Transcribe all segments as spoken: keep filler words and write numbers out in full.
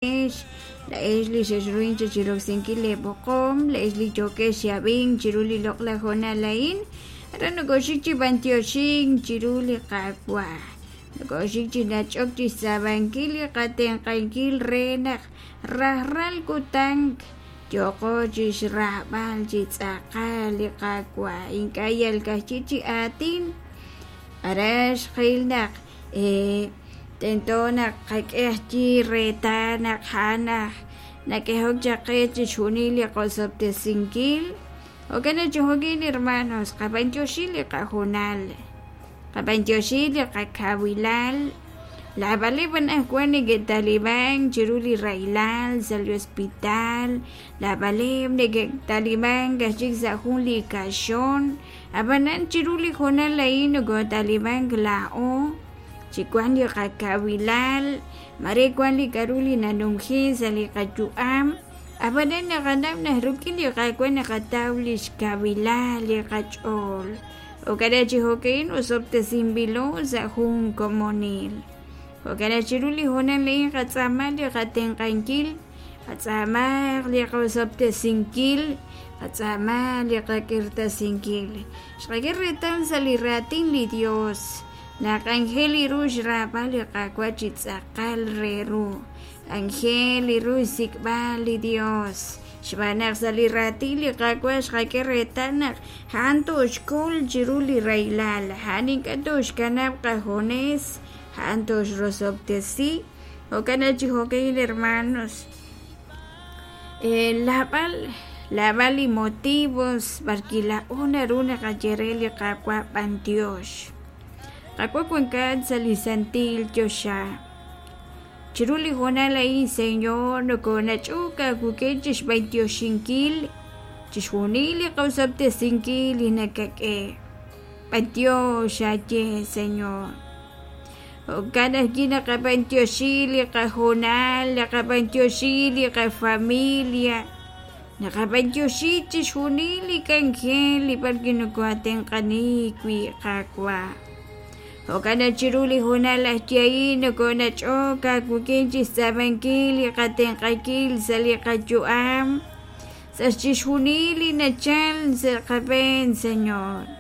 Laa'ex li xexruhank chi roksinkil leeb'oqom, laa'ex li yookex chi ab'ink chiru li loq'laj honal a'in, aran nokooxik chi b'anyoxink chiru li Qaawa', nokooxik chi nach'ok chi xtz'aamankil li qatenq'ankil re naq rajlal kutan yooqo chi xraab'al chi tz'aqal li Qaawa', ink'a' yal ka'ajwi' chi aatin. Aran xqil naq tento naq qak'e ajwi' reetal naq a'an aj nak'ehok chaq qe chixjunil li qosob'tesinkil. Jo'kan naq chi jo'kin hermanos, qab'anyoxi li qahoonal, qab'anyoxi li qakawilal. Naab'aleb' anaqwan neke'talimank chiru li rahilal sa' li hospital, naab'aleb' neke'talimank aj chik sa' jun li kaxon, ab'anan chiru li hoonal a'in nokootalimank laa'o chi wank li qakawilal, mare wank li k'aru li nanumji sa' li qayu'am, ab'anan naqanaw naq rik'in li Qaawa' naqataw li xkawilal li qach'ool. Jo'kan naq chi jo'ka'in osob'tesinb'ilo sa' jun komonil. Jo'kan naq chiru li hoonal a'in qatz'aama li qatenq'ankil, qatz'aamaq li qosob'tesinkil, qatz'aama li qak'irtasinkil. Xqak'e reetal sa' li raatin li Dios naq anjel li ru xraab'al li Qaawa' chi tz'aqal re ru, anjel li ru xsik'b'al li Dios. Xb'aan naq sa' li raatin li Qaawa' xqak'e reetal naq a'an tooxkol chiru li rahilal, a'an ink'a' tooxkanab' qajunes, a'an tooxrosob'tesi. Jo'kan naq chi jo'ka'in hermanos, laab'al laab'al li motivos b'arwi' laa'o naru naqaye re li Qaawa' b'antiox. Qaawa' wankat sa' li santil choxa. Chiru li hoonal a'in, Señor, nokoonach'ok aawik'in chi xb'antioxinkil chixjunil li qosob'tesinkil li nakak'e. B'antiox aaye, Señor. Jo'kan ajwi' naqab'antioxi li qahoonal, naqab'antioxi li qafamilia, naqab'antioxi chixjunil li k'anjel li b'arwi' nokoo'atenq'ani wi' Qaawa'. Jo'kan naq chiru li hoonal ajwi' a'in nokoonach'ok aawik'in chi xtz'aamankil li qatenq'ankil sa' li qayu'am, sa' chixjunil li nachal sa' qab'een, Señor.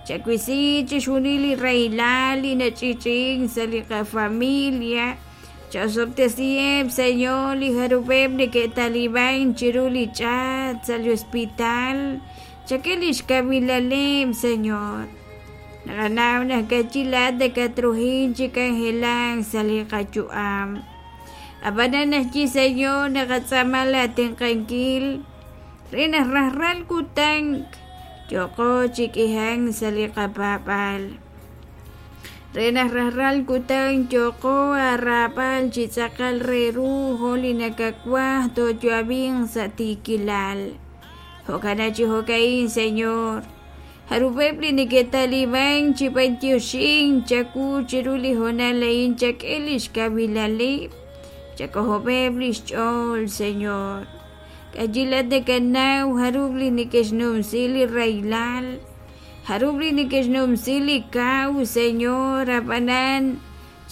Chawisi chixjunil li rahilal li nach'i'ch'i'ink sa' li qafamilia, chaosob'tesiheb', Señor, li jarub'eb' neke'talimank chiru li ch'aat sa' li hospital, chak'e li xkawilaleb', Señor. Naqanaw naq ka'ajwi' laa'at nakatruhin chi k'anjelak sa' li qayu'am. Ab'anan ajwi', Señor, naqatz'aama laatenq'ankil re naq rajlal kutan yooqo chi k'ihank sa' li qapaab'aal, re naq rajlal kutan yooqo aaraab'al chi tz'aqal re ru jo' li nakawaj tooyo'ab'inq sa' tiikilal. Jo'kan naq chi jo'ka'in, Señor, jarub'eb' li neke'talimank chi b'antioxink chawu chiru li hoonal a'in chak'e li xkawilaleb', chak'ojob'eb' li xch'ool, Señor. K'a'ajwi' laa'at nakanaw jarub' li neke'xnumsi li rahilal, jarub' li neke'xnumsi li kaw, Señor, ab'anan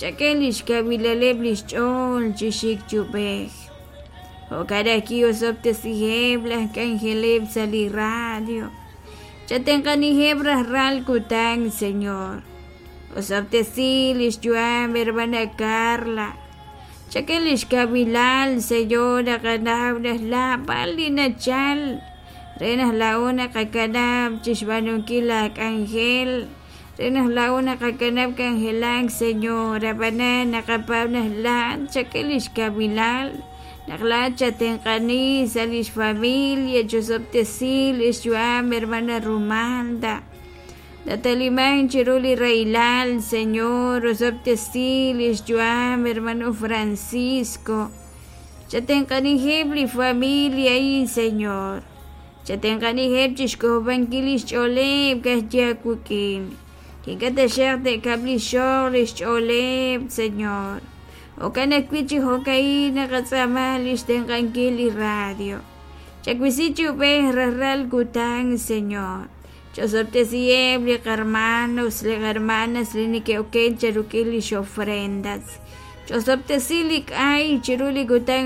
chak'e li xkawilaleb' li xch'ool chi xik chub'ej. Jo'kan ajwi' osob'tesiheb' laj k'anjeleb' sa' li radio. Chatenq'aniheb' rajlal kutan, Señor. Osob'tesi li xyu'am hermana Carla. Chak'e li xkawilal, Señor, naqanaw naq laab'al li nachal re naq laa'o naqakanab' chi xb'aanunkil laak'anjel, re naq laa'o naqakanab' k'anjelak, Señor, ab'anan naqapaab' naq laa'at chak'e li xkawilal, naq laa'at chatenq'ani sa' li xfamilia, chosob'tesi li xyu'am hermana Rumalda. Natalimank chiru li rahilal, Señor, osob'tesi li xyu'am hermano Francisco. Chatenq'aniheb' li familia a'in, Señor. Chatenq'aniheb' chi xk'ojob'ankil li xch'ooleb' ka'ajwi' aawik'in. Ink'a' taxaq te'kab' li xoq li xch'ooleb', Señor. Jo'kan ajwi' chi jo'ka'in naqatz'aama li xtenq'ankil li radio. Chawisi chi ub'ej rajlal kutan, Señor. Chosob'tesiheb' li qarmanos, li qarmanas li neke'oken cheruk'il li xofrendas. Ch'osob'tesi li k'ay chiru li kutan